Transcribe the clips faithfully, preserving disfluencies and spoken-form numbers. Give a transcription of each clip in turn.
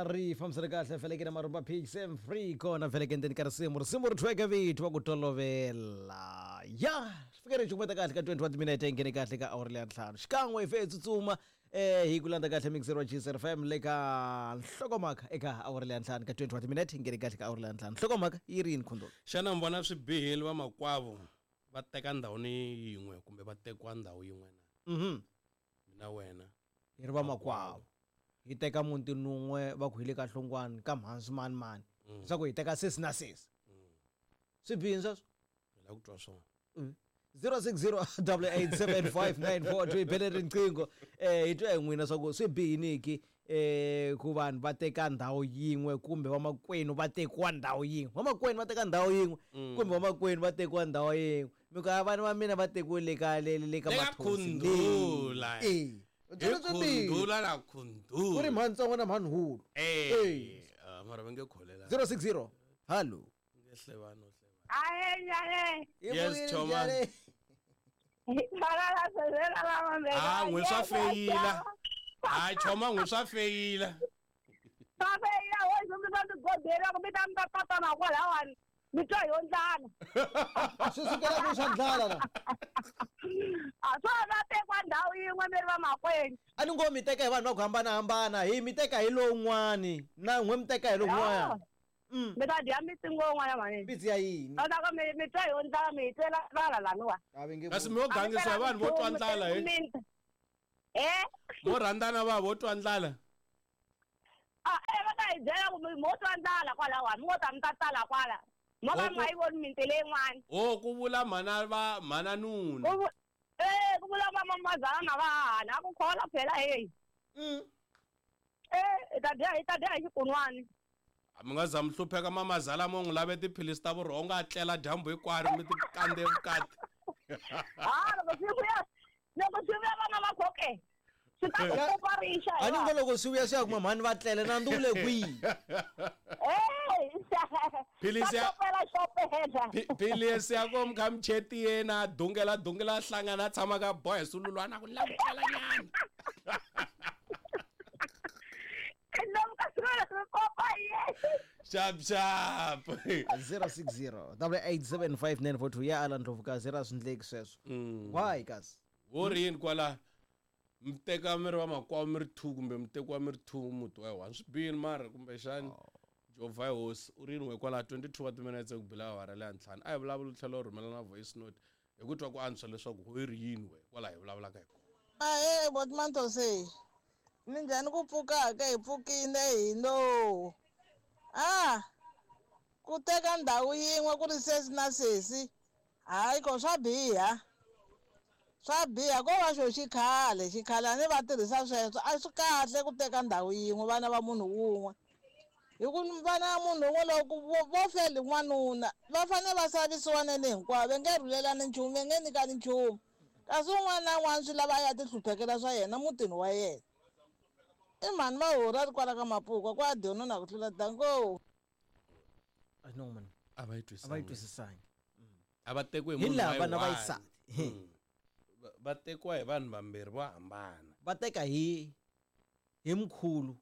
Ri fambisana kahle feleke na marumba P X M free kona feleke ndzeni ka risimu risimu ri thweke vito wa ku tolovela ya swi fike ri cukumeta kahle ka twenty-one minute yi nghene kahle ka awara leya ntlhanu xikan'we hi fe hi tsutsuma eh hi ku landza kahle mixer wa G S F M le ka nhlokomhaka eka awara leya ntlhanu ka twenty-one minute yi nghene kahle ka awara leya ntlhanu. Nhlokomhaka yi ri yini, Khundulu? Xana mi vona swi bihile vamakwavo va teka ndhawu ni yin'we kumbe va tekiwa ndhawu yin'we na? Mhm mina wena. Hi ri vamakwavo hi teka muti nun'we, va ku hi le ka hlongwani ka mhansi mani mani, leswaku hi teka sesi na sesi, swi bihini sweswo? Hi lava ku twa swona. zero six zero double eight seven five nine four two, hi bele riqingho eh hi twa hi n'wina swa ku swi bihiniki eh ku vanhu va teka ndhawu yin'we kumbe vamakwenu va tekiwa ndhawu yin'we, vamakwenu va teka ndhawu yin'we kumbe vamakwenu va tekiwa ndhawu yin'we. Mi ku a vana va mina va tekiwe ka le le ka Le ka Mathosi. Khundula. Eh hi khundula na ku ri khundula. Mhani ntsongo na mhani hulu. Eh, ah, mara va nge kholela. zero six zero, hallo. Nge hlevani no hlevani. Ahe, njhani? Yes, Choma. Ah, Ah, n'we swa feyila. Hayi choma, n'we swa feyila. Swa feyila wo mi ta mi godela ku mi ta mi ta tatana kwalawani mi twa yo ndlala. Swi sukela ku swa ndlala la. A swa va tekiwa ndhawu yin'we mi ri vamakwenu. A ni ngo mi teka hi vanhu va ku hambanahambana, hi mi teka hi lowun'wani na n'we mi teka hi lowun'wana. Mm. Mi ta dya mitsingo yin'wana mani. Mbitsi ya yini? A ta ku mi mi twa yo ndlala, mi hi twela ndlala laniwa. A va nge Kasi mi yo gangisa hi vanhu vo twa ndlala he? Eh. Mo rhandzana va vo twa ndlala. A eh va ta hi byela ku mi mo twa ndlala kwalawani, mi ngo ta mi ta tala kwala mo ka mi nga yi voni miti leyin'wana. O ku vula mhana va mhana nuna. Ku vu- eh ku vula vamamazala na vahahani a ku khola phela heyi. Mm. Eh hi ta dya hi ta dya hi xikun'wani. Mi nga za mi hlupheka mamazala, mo n'wi lave tiphilisi ta vurhongo, a tlela dyambu hinkwaro, mi ti kandze vukati. Ha loko swi vuya loko swi vuya vana va khoke swi ta ku kopa rixa. A ni ngo loko swi vuya swi ya kuma mhani va tlele na ndzi wu le kwihi? Philisi ya- xopela xopela. Pi- philisi ya ko mi kha mi chetiyeni, a dungela dungela, a hlangana, a tshama ka boha hi sululwana ku ni lava ku tlela nyana. Lomu ka swilo swi kopa ye. Xap xap. zero six zero double eight seven five nine four two ya ala ndlovukazi ra swi ndleki sweswo. Why kasi? Wo ri yini kwala? Mi teka mi ri vamakwavo mi ri two kumbe mi tekiwa mi ri two muti wa one, swi bihini mara kumbexani jovha hi hosi u ri yini we kwala? twenty-two wa timinetse ku bila awara leya ntlhanu. A hi vulavuli, u tlhela u rhumela na voice note hi ku twa ku antswa leswaku ho ri yini we kwala hi vulavulaka hi kona. Ahee, botmantose, minjhani? Ku pfuka ke hi pfukile hi no a ku teka ndhawu yin'we ku ri sesi na sesi, hayi ko swa biha, swa biha. Ko va xo xikhale xikhale a ni va tirhisa sweswo, a swi kahle ku teka ndhawu yin'we vana va munhu wun'we, hi ku vana va munhu wun'we loko vo vo feli n'wanuna va fanele va savisiwa nene hinkwavo, va nge rhulelani nchumu, va nge nyikani nchumu, kasi un'wana na un'wana swi lava a ya ti hluphekela swa yena mutini wa yena. I mhani mahori a ri kwala ka Mapuka kwa dyona na ku tlula danko. No man. A va yi A va yi twisisangi. Twisisangi. A va tekiwi hi Hi munhu lava wa na yi one. vayisati. Mm. Va- va tekiwa hi vanhu vambirhi vo hambana. Va teka hi hi mkhulu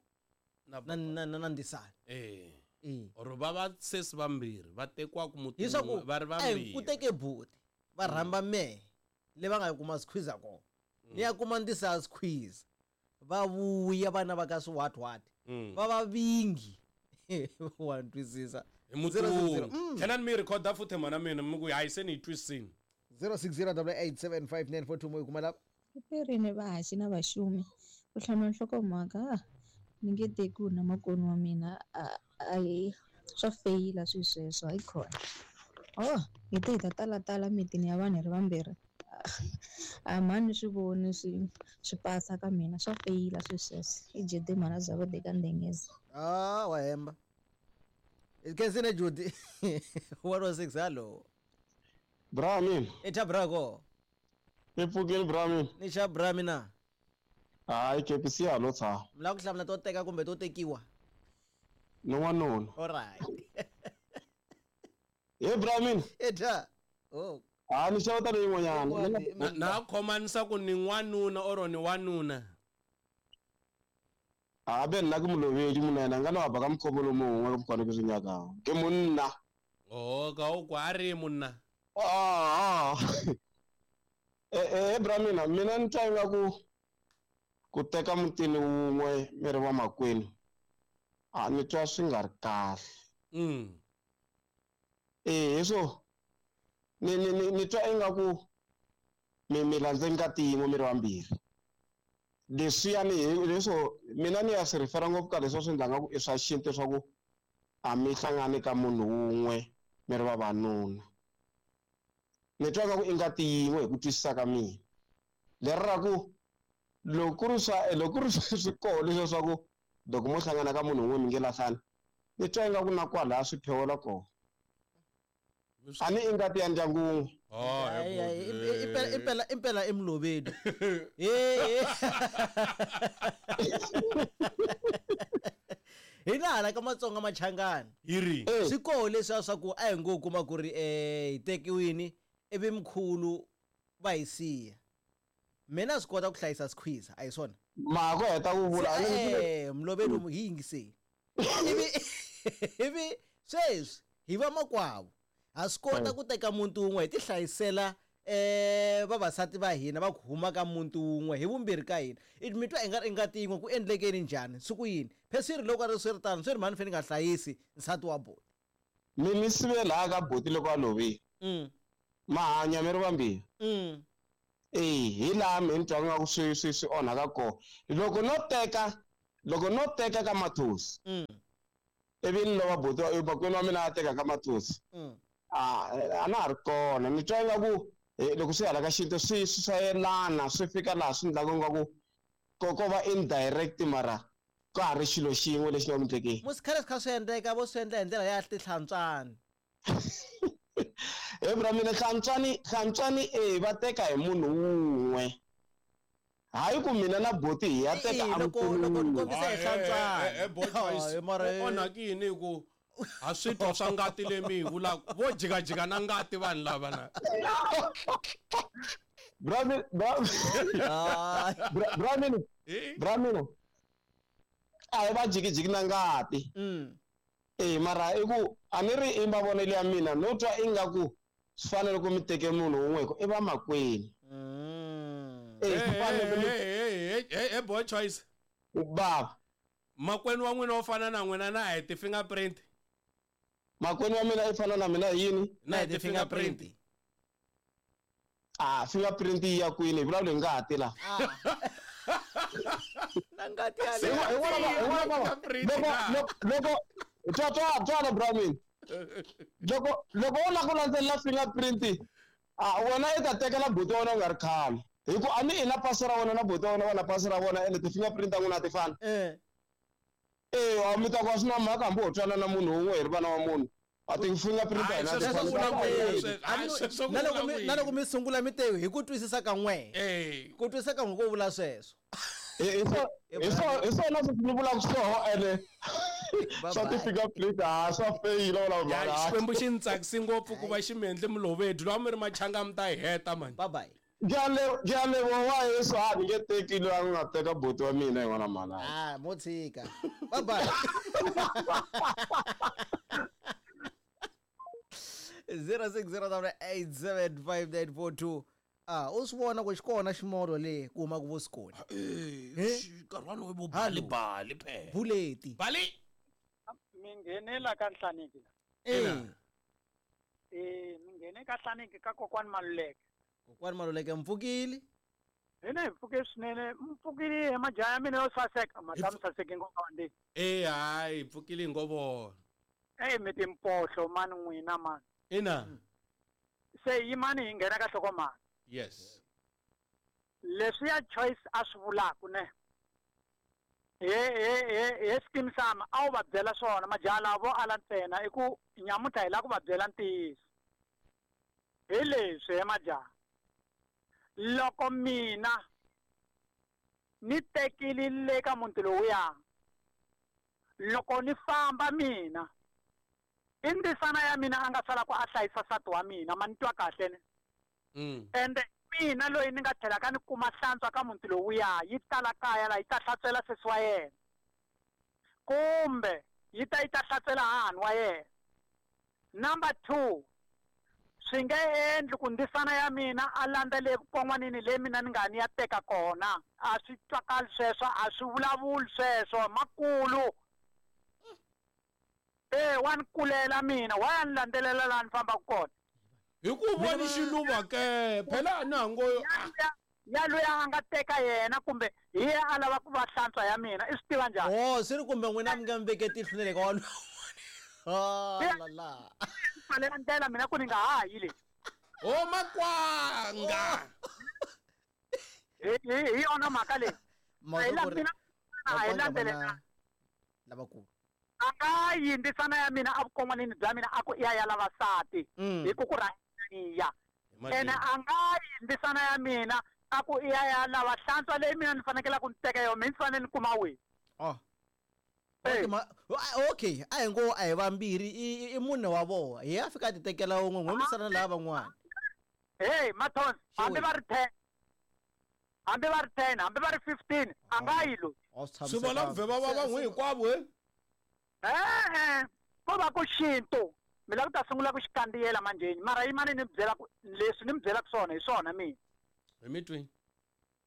na na na na na ndisana. Eh. Eh. Or va va sesi vambirhi va tekiwa ku muti Hi swa ku wun'we va ri eh, vambirhi. ku teke buti va rhamba mehe le va nga kuma squeeze kona, ni ya kuma ndisa squeeze, va vuya vana va ka swi what what. Mm. Va va vingi wa twisisa. Hi muti wun'we. Tlhela ni mi rhikhoda futhi mhana mina mi ku hayi se ni yi twisisini. zero six zero double eight seven five nine four two mo yi kuma lava. Pirini vahaxi na vaxumi ku hlamula nhlokomhaka, ni nge tekiwi na makoni wa mina, a a hi swa feyila swi sweswo, hayi khona. Oh, hi te hi ta talatala mitini ya vanhu hi ri vambirhi, a mhani swi voni swi swi pasa ka mina, swa feyila swi sweswo. I jede mhana bya vodeka ndengeza. Ah, wa hemba kensine Judy. one oh six, hallo. Bra mina. I cha brako. I pfukile bra mina. Ni xa bra mina. Hayi kepisi ya lo tshama. Mi lava ku hlamula to teka kumbe to tekiwa? Ni n'wanuna. Alright. He bra mina. Eta oh. Ha ni xeweta leyin'wanyana. Na na khomanisa ku ni n'wanuna or ni wanuna. Gape nna ke molobedi monna nka no apa ka mokgobo lo mongwe ke mokgwane ke se nyakang. Ke monna. Oh, ka o kwa re monna. Ah. Eh eh bra mina mina ni twa ingaku ku teka mutini wun'we mi ri va makwenu. A ni twa swi nga ri kahle. Mm. Eh so ni ni ni ni twa ingaku mi mi landze ngati yin'we mi ri vambirhi. Leswiyani leswo mina ni ya swi rifera ngopfu ka leswi swi endlaka ku i swa xintu swa ku a mi hlangani ka munhu wun'we mi ri vavanuna. Ni twa ku i ngati yin'we hi ku twisisa ka mina. Leri ra ku loko ku ri swa loko ku ri swi koho leswiya swa ku loko mo hlangana ka munhu wun'we mi nge lahlani ni twa ingaku na kwalaya swi phewela kona. A ni i ngati ya ndyangu wun'we. Oh, impela impela impela i mulobedi. Eh. Hina hala ka Matsonga Machangani. Yiri. Swi koho leswiya swa ku a hi ngo kuma ku ri eh hi tekiwini ivi mkhulu va hi siya. Mina swi kota ku hlayisa sikhwiza a hi swona. Ma ku heta ku vula eh mulobedi hi yingiseni. Ivi ivi sweswi hi va makwavo. Ha swi kota ku teka muntu wun'we hi ti hlayisela eh vavasati va hina va ku huma ka muntu wun'we hi vumbirhi ka hina. Mi twa i nga ri ngati yin'we ku endlekeni njhani swi ku yini phe swi ri loko a ri swi ri tano swi ri mhani fane ni nga hlayisi nsati wa buti. Mi mi sive laha ka buti loko a lovile. Mm. Ma hanya mi ri vambirhi. Mm. Eh hi laha mi ni twa nga ku swi swi swi onhaka kona. Loko no teka loko no teka ka Mathosi. Mm. Ivi ni lova buti wa makwenu wa mina a teka ka Mathosi. Mm. Ah a na ha ri kona ni twa ingaku loko swi hala ka xintu swi swi yelana swi fika laha swi endlaka ingaku ko ko va indirect mara ka ha ri xilo xin'we lexi nga ku endlekeni. Musi khale swi kha swi endleka vo swi endla hi ndlela ya tihlantswani. He bra mina hlantswani hlantswani eh va teka hi munhu wun'we. Hayi ku mina na buti hi ya teka a loko loko ni kombisa hi hlantswani. Eh boy mara onhakini hi ku a swi twa swa ngati leyi mi yi vulaka vo jikajika na ngati vanhu lava na. Bra bra bra mina bra mina a hi va jikijiki na ngati. Mm. Eh mara i ku a ni ri i mavonelo ya mina no twa ingaku swi fanele ku mi teke munhu wun'we hi ku i va makwenu. Mm. Eh swi fanele ku mi eh eh boy choice. Baba. Makwenu wa n'wina wo fana na n'wina na hi ti-fingerprint. Makwenu wa mina i fana na mina hi yini? Na hi ti-fingerprint. Ah fingerprint yi ya kwini hi vulavula hi ngati la. Na ngati ya le. Loko loko twa twa twa bra mina. Loko loko u lava ku landzelela fingerprint ah wena i ta tekela buti wa wena u nga ri khale. Hi ku a ni i na pasi ra wena na buti wa wena va na pasi ra vona ende ti-fingerprint ta n'wina a ti fani. Eh. Eh a mi ta ku a swi na mhaka hambi ho twana na munhu wun'we hi ri vana wa munhu. A ti-fingerprint ta hina ti fani. Na loko mi na loko mi sungula mi te hi ku twisisa ka n'we. Eh. Ku twisisa ka n'we ko vula sweswo. Hi hi swona sweswi ni vulaka swoho ene swa ti-fingerprint a swa feyila wala mhaka. Xikwembu xi ni tsakisi ngopfu ku va xi mi endle mulobedi lowa mi ri machanga mi ta hi heta mani. Bye bye. Ke a leboha wa Yesu a ni nge teki loyi a nga teka buti wa mina hi n'wana mhana. Ah mo tshika. Bye bye. zero six zero eight seven five nine four two. Ah u swi vona ku xi kona ximolo le ku huma ku vusikoni. Eh nkarhi walowo vo bali bali phela. Buleti. Bali. Mi nghenela ka Nhlaniki. Eh. Eh mi nghene ka Nhlaniki ka kokwani Maluleke. Kokwani Maluleke mpfukile. Hina hi pfuke swinene mpfukile hi majaha ya mina yo saseka madamu saseke nkoka wa ndeni. Eh hayi pfukile ngo vona. Eh mi timpohlo mani n'wina mani. Ina. Se yimani hi nghena ka nhlokomhaka. Yes. Leswi ya choice a swi vulaka ne. He he he he scheme sama a wu va byela swona majaha lava vo ala ntsena i ku nyamuntlha hi lava ku va byela ntiyiso. Hi leswi he majaha. Loko mina ni tekile le ka muti lowuya loko ni famba mina i ndzisana ya mina a nga sala ku a hlayisa nsati wa mina ma ni twa kahle ne. Mm. Ende mina loyi ni nga tlhelaka ni kuma hlantswa ka muti lowuya yi tala kaya la yi ta hlantswela sesi wa yena. Kumbe yi ta yi ta hlasela hahani wa yena. Number two, swi nge endli ku ndzisana ya mina a landza le vukon'wanini leyi mina ni nga ni ya teka kona. A swi twakali sweswo, a swi vulavuli sweswo, makulu. Eh, wa ni kulela mina, wa ya ni landzelela laha ni fambaka kona. Hi ku voni xiluva ke, phela na ngo ya loyi a nga teka yena kumbe hi yena a lava ku va hlantswa ya mina, i swi tiva njhani? Oh, swi ri kumbe n'wina mi nga mi veke tihlo na le ka walowo. Ah, la la. Pfalela ndlela mina ku ni nga ha yi le. Oh, makwanga. Hi hi yona mhaka leyi. Mina a hi landzelela. Lavakulu. A nga yi ndzisana ya mina a vukon'wanini bya mina a ku i ya ya lavasati. Hi ku ku rhangiya. Ene a nga yi ndzisana ya mina a ku i ya ya lava hlantswa leyi mina ni fanekele ku ni teka yona, mina ni fanele ni kuma wihi? Oh. Okay, a hi ngo a hi vambirhi, i mune wa vona. Hi ya fika a ti tekela wun'we, n'we misana lava van'wana. Hey, Mathonsi, hambi va ri ten, hambi va ri ten, hambi va ri fifteen, a nga yi loyi. Swi vona ku vhe va va n'wi hinkwavo, he? E-e, ko va ku xintu. Mi lava ku ta sungula ku xi kandziyela manjheni, mara yimani ni mi byela ku leswi ni mi byelaka swona hi swona mina. Hi mi twi.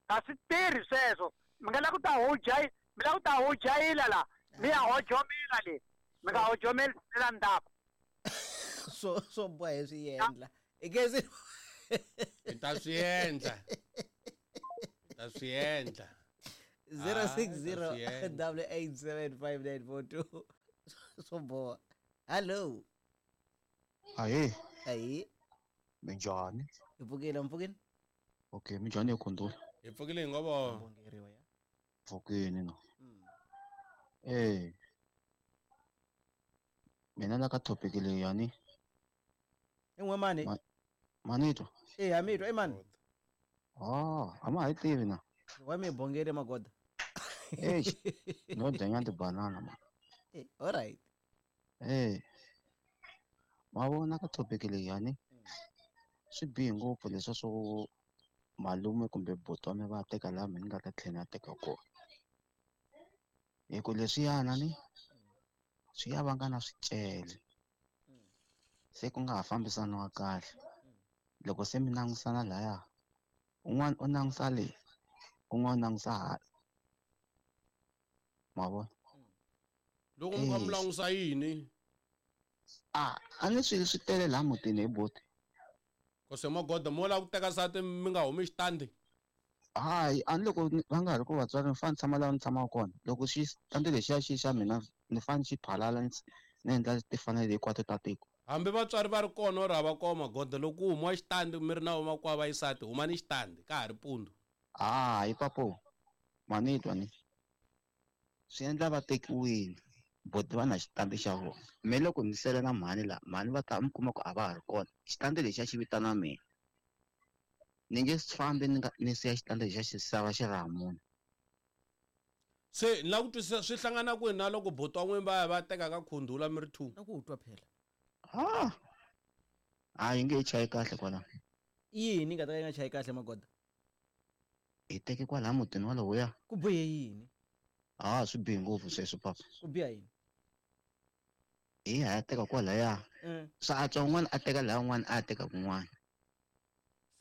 A swi tirhi sweswo. Mi nga lava ku ta hojayila, mi lava ku ta hojayila la. Mi ya hojomela le. Mi nga hojomeli la ndzhaku. So so boha hi swi endla. I nge se hi ta swi endla. Hi ta swi endla. zero six zero double eight seven five nine four two. So boha. Hello. Ahee. Ahee. Minjhani? Hi pfukile, mi pfukile? Okay, minjhani ya Khundula? Hi pfukile hi ngo vona. Pfukile no. Eh. Mina la ka topic leyi yani. I n'we mani? Manitwa. Eh, ha mitwa, i mani? Ah, a ma hi tivi na. Wa mi bongele magoda. Eh, no dya nyana tibanana ma. Eh, all right. Eh. Ma vona ka topic leyi yani. Swi bihe ngopfu leswa swo malume kumbe buti wa mina va teka laha mina ni nga ta tlhela ni ya teka kona. Hi ku leswiyana ni swi ya vanga na swicele. Se ku nga ha fambisaniwa kahle. Loko se mi langusana laya, un'wana u langusa le, un'wana u langusa hala. Ma vona? Loko mi kha mi langusa yini? A a ni swilo swi tele laha mutini hi buti. Kose magoda mo lava ku teka nsati mi nga humi xitandi? Hayi, a ni loko va nga ri ku vatswari ni fanele ni tshama laha ni tshamaka kona. Loko xitandi lexiya xi xa mina ni fanele xi phalala ni endla timfanelo hinkwato ta tiko. Hambi vatswari va ri kona or hava kona magoda, loko ku humiwa xitandi mi ri na vamakwavo va xisati, humani xitandi ka ha ri mpundzu. Hayi papo, manitwa ni swi endla va tekiwile, buti va na xitandi xa vona. Me loko ni sele na mhani laha, mhani va ta mi kuma ku a va ha ri kona. Xitandi lexiya xi vitana mina. Ni nge fambi ni nga ni siya xitandi lexiya xi sava xi ri ha munhu. Se ni lava ku twisisa swi hlangana kwihi na loko buti wa n'wina va ya va teka ka Khundula mi ri two? Na ku twa phela. Ah. A yi nge yi chayi kahle kwalaho. Yini nga ta ka yi nga chayi kahle magoda? Hi teke kwalaha mutini walowoya. Ku bihe yini? Ah, swi bihe ngopfu sweswo papa. Ku biha yini? Hi ya teka kwalaya. Swa antswa un'wana a teka laha un'wana a teka kun'wana.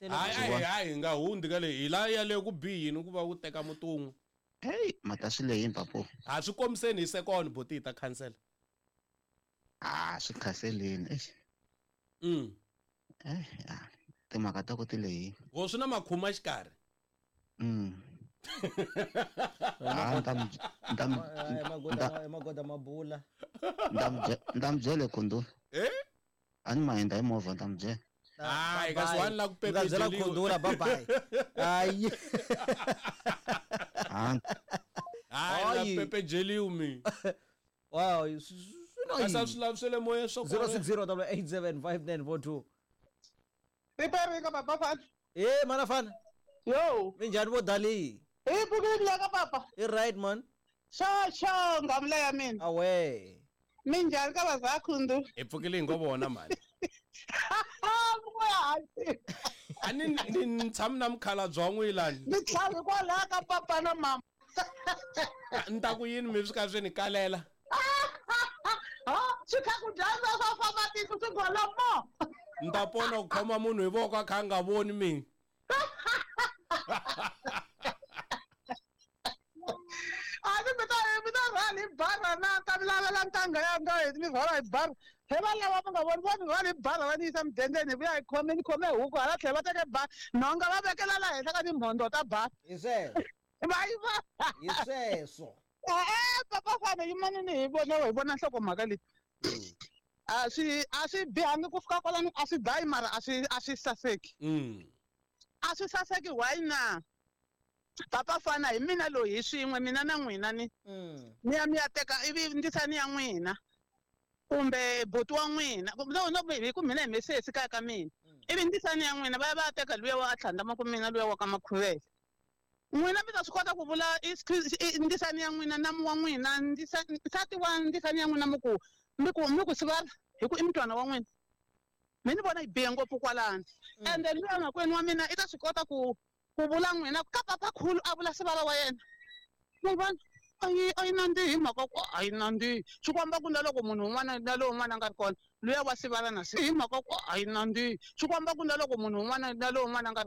Hayi, hayi, hayi, hi nga hundzi ka leyi. Hi laha yaleyo ku bihi yini ku va u teka muti wun'we? Hey, mata swi lehini papo. A swi kombiseni hi second buti hi ta khansela. Ah, swi khanseleni. Eish. Mm. Eh, ah, timhaka ta ku ti lehini. Ho swi na makhuma xikarhi. Mm. Ah, nta mi nta mi magoda magoda mabula. Nta mi nta mi byele Khundula. Eh? A ni mahinda hi movha nta mi byela. Hayi, kasi wani la ku pepejeliwa. Khundula, bye bye. Hayi. Ah. Hayi, la pepejeliwa mi. Wow, Kasi swi lavi swa le moyeni swa zero six zero double eight seven five nine four two. Ripere ka papa fana. Eh, mana fana. Yo. Minjhani vo dali? Hi pfukile la ka papa. I right man. Xo xo ngamula ya mina. Awe. Minjhani ka vaza Khundu? Hi pfukile hi ngo vona mani. A ni ni tshami na mukhalabye wa n'wina. Ni tlhavi kwalaha ka papa na mama. Ni ta ku yini mi swi ka swi ni kalela? Swi kha ku dyandza swa famba tiko swi gola mo. Ni ta pona ku khoma munhu hi voko a kha a nga voni mina. A ni mi ta mi ta rhwala hi barha na ta mi lavela ntangha ya nga hi mi rhwala hi barha. He va lava va nga voni va ni rhwala hi barha va ni yisa mudendeni hi vuya hi khome ni khome huku hala tlhelo va teke ba nhonga va vekela la henhla ka timhondzo ta ba. Hi sweswo. Va yi va. Hi sweswo. E-e papa fana yimanini hi vona hi vona nhlokomhaka leyi. A swi a swi bihangi ku fika kwalano a swi dayi mara a swi a swi saseki. A swi saseki why na? Papa fana hi mina loyi hi swin'we mina na n'wina ni. Ni ya mi ya teka ivi ndzisani ya n'wina kumbe buti wa n'wina no no hi ku mina hi mesesi kaya ka mina. Ivi ndzisani ya n'wina va ya va ya teka luya wa a tlhandlama ku mina luya wa ka Makhuvele. N'wina mi ta swi kota ku vula ndzisani ya n'wina namu wa n'wina nsati wa ndzisani ya n'wina mi ku mi ku mi ku sivara hi ku i mutwana wa n'wina. Mi ni vona yi bihe ngopfu kwalano. Ende luya makwenu wa mina i ta swi kota ku ku vula n'wina ka papakhulu a vula sivara wa yena. Mi vona a yi a yi nandzihi mhaka ku a yi nandzihi. Swi komba ku na loko munhu un'wana na lowun'wana a nga ri kona luya wa sivara na hi mhaka ku a yi nandzihi. Swi komba ku na loko munhu un'wana na lowun'wana a nga ri